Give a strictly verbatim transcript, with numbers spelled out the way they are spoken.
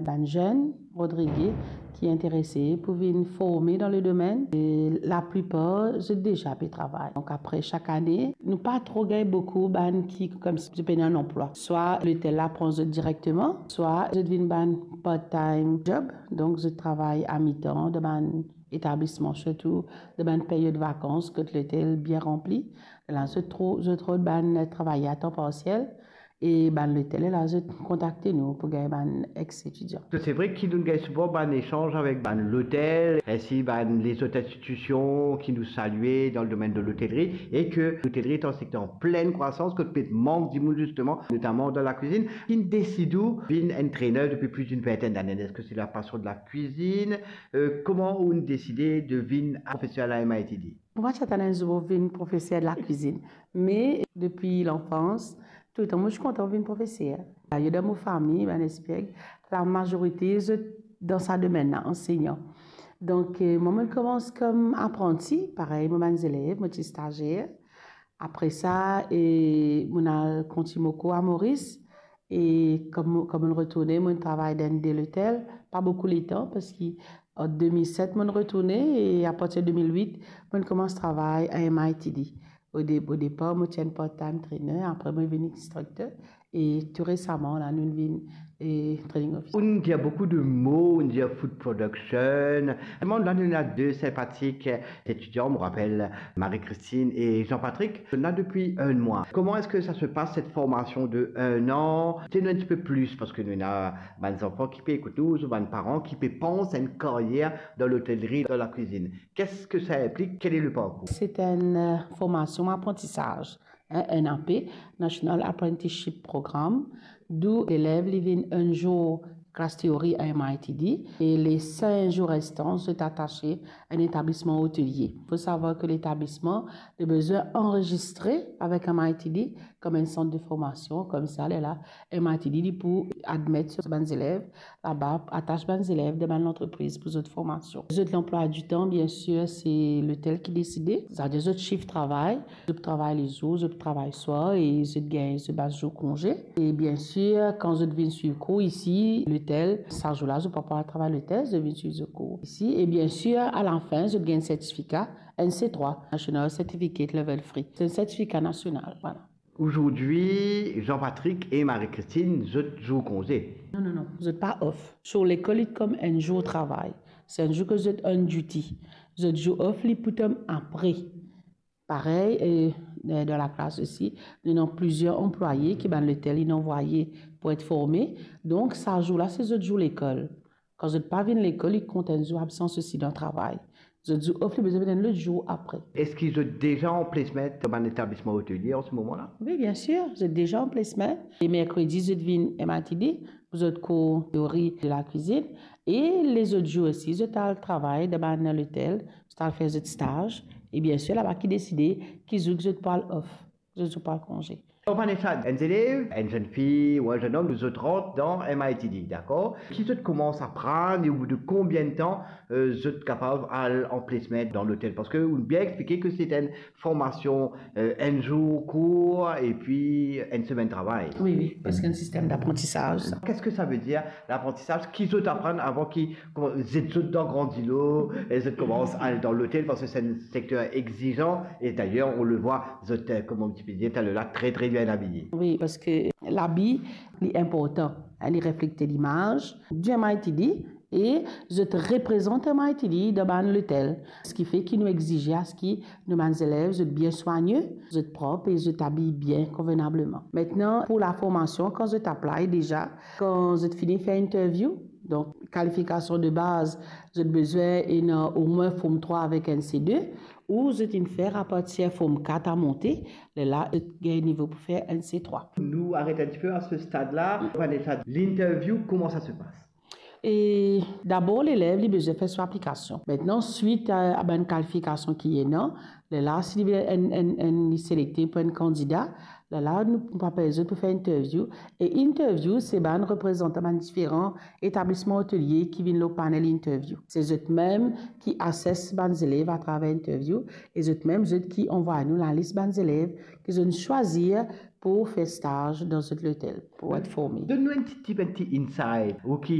bann zenn Rodrige ki interese pou vinn forme dan le domenn. E laplipar, zot deza pe travay. Donk apre sak ane, nou pa tro gagn boukou bann ki koumsi zot pena enn anplwa. Swa lotel la pran zot direkteman, swa zot vinn bann part-time job, donk zot travay amitan dan bann etablisman, sirtou dan bann peryod vakans kot lotel bien ranpli. La zot tro-, zot rod bann travayer a tan parsiel, e bann lotel la zot kontakte nou pou gagn bann ex-etidian. Se vre ki nou gagn souvan bann esanz avek bann lotel, ainsi bann lezot institusion ki nou salie dan le domenn de lotelri, e ke lotelri est un secteur en pleine croissance, kot pe mank dimoun zisteman, notaman dan lakwizinn. Ki'nn desid ou vinn entrainer depi plis d'enn vintinn dane? Eski se lapasion de lakwizinn? Euh, kouma ou'nn deside de vinn profeser la M I T D? Mo pa ti atann enn zour mo vinn profeser de lakwizinn, me depi lanfans, toultan mo ti kontan vinn profeser. Dayer dan mo fami, bann Espieg, lamazorite zot dan sa domenn la, ansegnan. Donk, eh, mwa, mo'nn koumans kom apranti, parey mo bann zelev, mo ti stazier. Apre sa, eh, mo'nn al kontign mo kour a Moris, e kom, kom mo'nn retourne, mo'nn travay dan de lotel, pa boukou letan, parski an de mil set mo'nn retourne, e apartir de de mil wit, mo'nn koumans travay a M I T D. O de-, o depar, mo ti enn part-time trainer, apre mo vinn instrikter, e tou resaman, la, nou vinn, e, training officer. Ou'nn dir boukou de mo, ou'nn dir food production. Mwa, la, nou ena de sinpatik etidian, mo rapel Marie-Christine e Jean-Patrick. Nou la depi enn mwa. Kouma eski sa se pas, set formasion de enn an? Dir nou enn tipe plis, parski nou ena bann zanfan ki pe ekout nou, ou bann paran ki pe pans enn karyer dan lotelri, dan lakwizinn. Qu'est-ce que ça implique? Quel est le parcours? Se enn, eh, formasion aprantisaz, hein, N A P, National Apprenticeship Program, dou lelev li vinn enn zour klas teori a M I T D, e le sink zour restan, zot atase a enn etablisman otelie. Fo savwar ke letablisman, li bizin anrezistre avek M I T D kom enn sant de formasion, koumsa, lerla, M I T D, li pou admet bann zelev laba, atas bann zelev dan bann lantrepriz pou zot formasion. Zot lanplwa di tan, biensir, se lotel ki deside. Savedir zot sif travay, zot travay lezour, zot travay swar e zot gagn zot bann zour konze. E biensir, kan zot vinn swiv kour isi, lotel, sa zour la, zot pa pou al travay lotel, zot vinn swiv zot kour isi. E biensir, alafin, zot gagn sertifika N C trois, National Certificate Level three. Se enn sertifika nasional, vwala. Aujourd'hui, Jean-Patrick e Marie-Christine, zot zour konze. Non, non, non, zot pa off. So lekol li kom enn zour travay. Se enn zour ke zot on duty. Zot zour off, li pou tom apre. Parey, e, e, dan laklas osi, nou ena plizier anplwaye ki bann lotel inn anvwaye pou et forme. Donk, sa zour la, se zot zour lekol. Kan zot pa vinn lekol, li kont enn zour absans osi dan travay. Zot zour off, li bizin vinn enn lot zour apre. Eski zot deza an placement dan bann etablisman otelie an se moman la? Wi, biensir, zot deza an placement. E merkredi, zot vinn M I T D pou zot kour teori de lakwizinn. E lezot zour osi, zot al travay dan bann lotel, zot al fer zot staz. E biensir, laba ki deside ki zour ki zot pou al off, zot zour pou al konze. Vanessa, enn zelev, enn zennfi ou enn zennom, zot rant dan M I T D, dakor? Ki zot koumans aprann e obout de konbien de tan, euh, zot kapav al an placement dan lotel? Parski ou bien explike ke se enn formasion, euh, enn zour kour epi enn semenn travay. Wi, wi, parski enn sistem daprantisaz. Qu'est-ce que ça veut dire, laprantisaz? Ki zot aprann avan ki, kouma, zet zot dan gran dilo e zot koumans al dan lotel, parski se enn sekter exizan e dayer, on le voit, zot, euh, kouma ti pe dir taler la, très, très bien habillé. Wi, parski labi, li inportan, hein, li reflekte limaz di M I T D e zot reprezant M I T D dan bann lotel. Seki fer ki nou exize a se ki nou bann zelev, zot bien swagne, zot prop e zot abiy bien, konvenableman. Aster, pou laformasion, kan zot apply deza, kan zot fini fer interview, donk kalifikasion de baz, zot bizin ena omwin Form trois avek N C deux, ou zot inn fer apartir Form quatre a monte, lerla zot gagn nivo pou fer N C trois. Nou aret enn tipe a se stad la. Vanessa, l'interview, comment ça se passe? E dabor, lelev, li bizin fer so aplikasion. Aster, swit a, a bann kalifikasion ki ena, lerla, si li, enn, enn, enn, li selekte pou enn kandida, lerla, nou, nou apel zot pou fer interview. E interview, se bann reprezantan bann diferan etablisman otelie ki vinn lor panel interview. Se zot mem ki assess bann zelev atraver interview, e zot mem, zot ki anvway nou lalis bann zelev ki zot swazir pou fer staz dan zot lotel, pou et forme. Donn nou enn ti tip, enn ti insight, ou ki